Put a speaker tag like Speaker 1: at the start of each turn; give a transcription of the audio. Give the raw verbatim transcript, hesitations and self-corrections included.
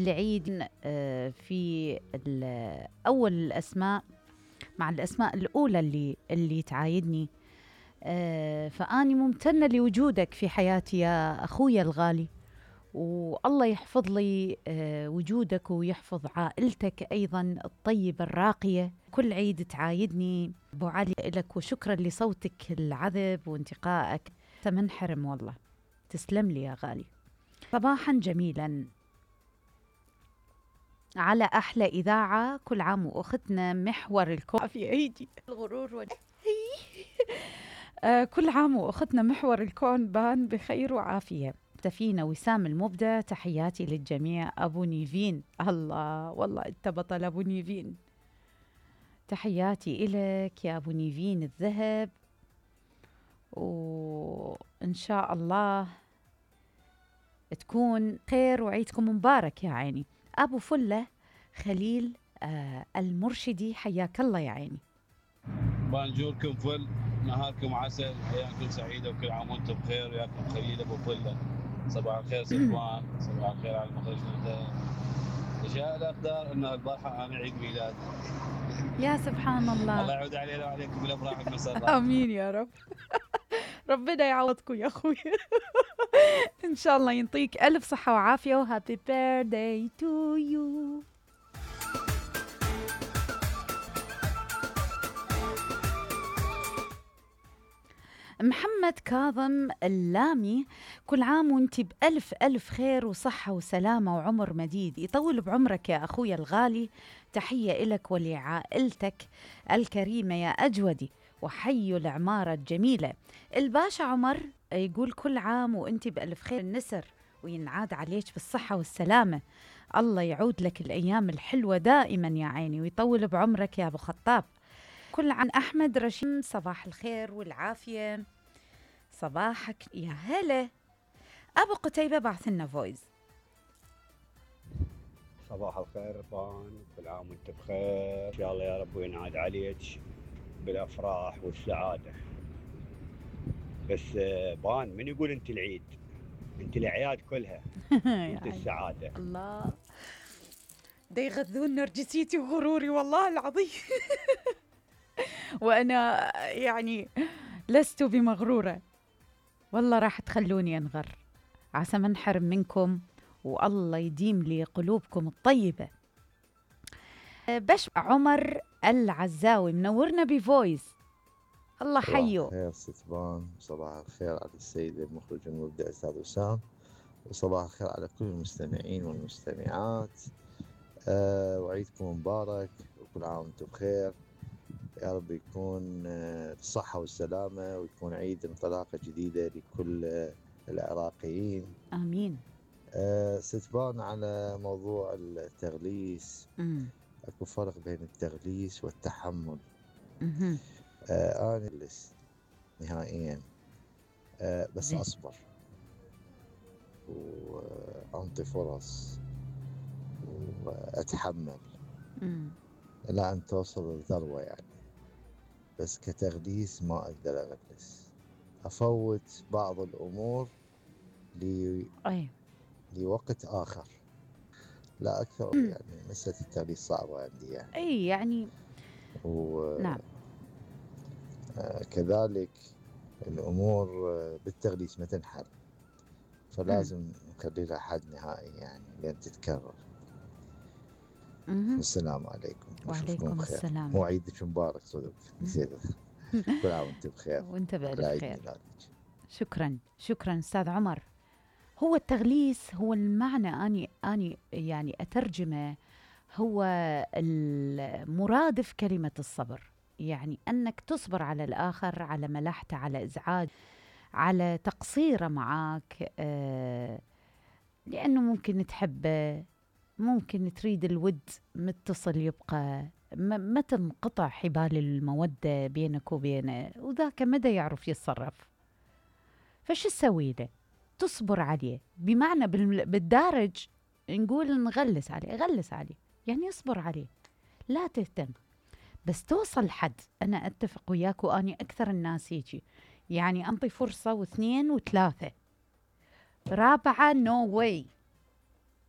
Speaker 1: عيد لعيد في أول الأسماء مع الأسماء الأولى اللي اللي تعايدني. فأني ممتنة لوجودك في حياتي يا أخويا الغالي، والله يحفظ لي وجودك ويحفظ عائلتك أيضا الطيبة الراقية. كل عيد تعايدني أبو علي لك، وشكرا لصوتك العذب وانتقائك، تمنحرم والله، تسلم لي يا غالي. صباحا جميلا على أحلى إذاعة، كل عام وأختنا محور الكون في أيدي الغرور وال... آه كل عام وأختنا محور الكون بان بخير وعافية. تفينا وسام المبدع، تحياتي للجميع. أبو نيفين، الله والله أنت بطل أبو نيفين، تحياتي إلك يا أبو نيفين الذهب، وإن شاء الله تكون خير وعيدكم مبارك يا عيني. أبو فلة خليل آه المرشدي، حياك الله يا عيني.
Speaker 2: بانجوركم فل، نهاركم عسل، أيامكم سعيدة، وكل عام وانتم بخير. وياكم خليل أبو فلة. صباح الخير سلمان، صباح الخير على المخرج نوتة. تشاء الأقدار أن البارحة أنا عيد ميلاد.
Speaker 1: يا سبحان الله،
Speaker 2: الله يعود علينا وعليكم بالأفراح والمسرات.
Speaker 1: آمين يا رب. ربنا يعوضكم يا أخوي. إن شاء الله ينطيك ألف صحة وعافية، وهابي بيرثداي تو يو. محمد كاظم اللامي، كل عام وانت بألف ألف خير وصحة وسلامة وعمر مديد، يطول بعمرك يا أخويا الغالي. تحية إلك ولعائلتك الكريمة يا أجودي، وحي العمارة الجميلة. الباشا عمر يقول كل عام وانت بألف خير النسر، وينعاد عليك بالصحة والسلامة. الله يعود لك الأيام الحلوة دائما يا عيني، ويطول بعمرك يا أبو خطاب. كل عن أحمد رشيم، صباح الخير والعافية. صباحك يا هلا. أبو قتيبة بعث لنا فويز.
Speaker 3: صباح الخير بان، كل عام وانت بخير، إن شاء الله يا رب وينعاد عليك بالأفراح والسعادة. بس بان من يقول انت العيد؟ انت الأعياد كلها. انت السعادة.
Speaker 1: الله، دا يغذون نرجسيتي وغروري والله العظيم. وأنا يعني لست بمغرورة، والله راح تخلوني أنغر، عسى ما انحرم منكم، والله يديم لي قلوبكم الطيبة. بش عمر العزاوي منورنا بفويس، الله حيو.
Speaker 4: صباح الخير ستبان، صباح الخير على السيد المخرج المبدع أستاذ وسام، وصباح الخير على كل المستمعين والمستمعات. أه وعيدكم مبارك، وكل عام وانتم بخير، يا رب يكون بالصحة والسلامة، ويكون عيد انطلاقة جديدة لكل العراقيين.
Speaker 1: آمين.
Speaker 4: أه ستبان على موضوع التغليس،
Speaker 1: مم.
Speaker 4: أكو فرق بين التغليس والتحمل.
Speaker 1: مم.
Speaker 4: أه أنا أغلس نهائيا، أه بس
Speaker 1: زي.
Speaker 4: أصبر وأنطي فرص وأتحمل
Speaker 1: مم.
Speaker 4: إلى أن توصل للذروة يعني. بس كتغليس ما أقدر أغلس، أفوت بعض الأمور لي...
Speaker 1: أي.
Speaker 4: لوقت آخر لا أكثر.
Speaker 1: مم.
Speaker 4: يعني مسألة التغليس صعبة عندي يعني.
Speaker 1: أي يعني.
Speaker 4: و...
Speaker 1: نعم.
Speaker 4: آه كذلك الأمور بالتغليس ما تنحل، فلازم نخلي لها حد نهائي يعني لين تتكرر.
Speaker 1: مم.
Speaker 4: السلام عليكم
Speaker 1: وعليكم
Speaker 4: بخير.
Speaker 1: السلام.
Speaker 4: هو عيدك مبارك صدق، نسيت. كل عام وانت بخير،
Speaker 1: وانت بألف خير.
Speaker 4: ميلادك.
Speaker 1: شكرا شكرا أستاذ عمر. هو التغليس هو المعنى أني أني يعني أترجمه، هو المرادف كلمة الصبر، يعني أنك تصبر على الآخر، على ملحته، على إزعاج، على تقصيره معك، آه لأنه ممكن تحبه، ممكن تريد الود متصل يبقى، ما تنقطع حبال المودة بينك وبينه، وذاك مدى يعرف يتصرف. فش تسوي له؟ تصبر عليه، بمعنى بالدارج نقول نغلس عليه، غلس عليه يعني اصبر عليه، لا تهتم، بس توصل حد. أنا أتفق وياك، وأني أكثر الناس يجي يعني أنطي فرصة واثنين وثلاثة، رابعة نو واي،